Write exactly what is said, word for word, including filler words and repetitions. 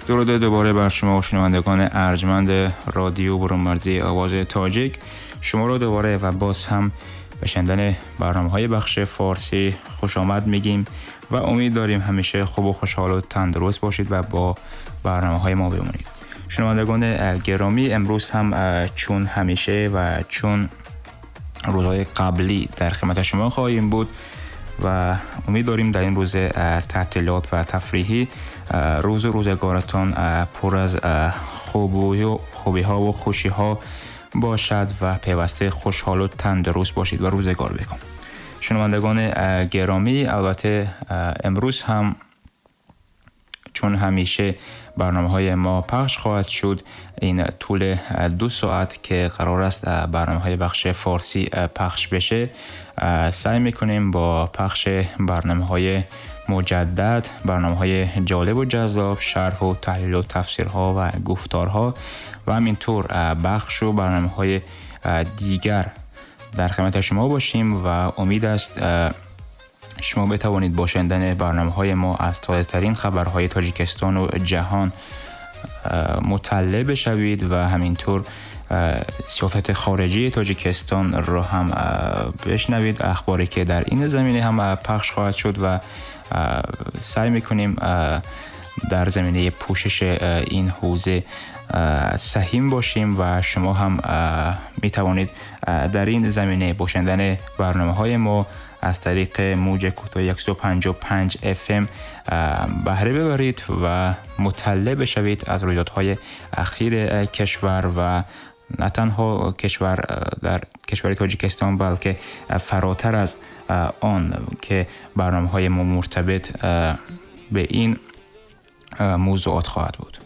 درود دوباره بر شما شنوندگان ارجمند رادیو برون‌مرزی آواز تاجیک. شما را دوباره و باز هم به شنیدن برنامه‌های بخش فارسی خوش آمد میگیم و امید داریم همیشه خوب و خوشحال و تندرست باشید و با برنامه‌های ما بمونید. شنوندگان گرامی، امروز هم چون همیشه و چون روزهای قبلی در خدمت شما خواهیم بود و امید داریم در این روز تعطیلات و تفریحی روز روزگارتان پر از خوبی ها و خوشی ها باشد و پیوسته خوشحال و تندرست باشید و روزگار بکن. شنوندگان گرامی، البته امروز هم چون همیشه برنامه های ما پخش خواهد شد، این طول دو ساعت که قرار است برنامه های بخش فارسی پخش بشه، سعی میکنیم با پخش برنامه های مجدد، برنامه های جالب و جذاب، شرح و تحلیل و تفسیرها و گفتارها و همینطور بخش و برنامه های دیگر در خدمت شما باشیم و امید است شما بتوانید با شنیدن برنامه‌های ما از تازه‌ترین خبرهای تاجیکستان و جهان مطلع بشوید و همینطور سیاست خارجی تاجیکستان را هم بشنوید، اخباری که در این زمینه هم پخش خواهد شد و سعی می‌کنیم در زمینه پوشش این حوزه سهیم باشیم و شما هم می‌توانید در این زمینه با شنیدن برنامه‌های ما از طریق موج کوتاه صد و پنجاه و پنج اف ام بهره ببرید و مطلع بشوید از رویدادهای اخیر کشور و نه تنها کشور در کشور تاجیکستان بلکه فراتر از آن که برنامه‌های ما مرتبط به این موضوعات خواهد بود.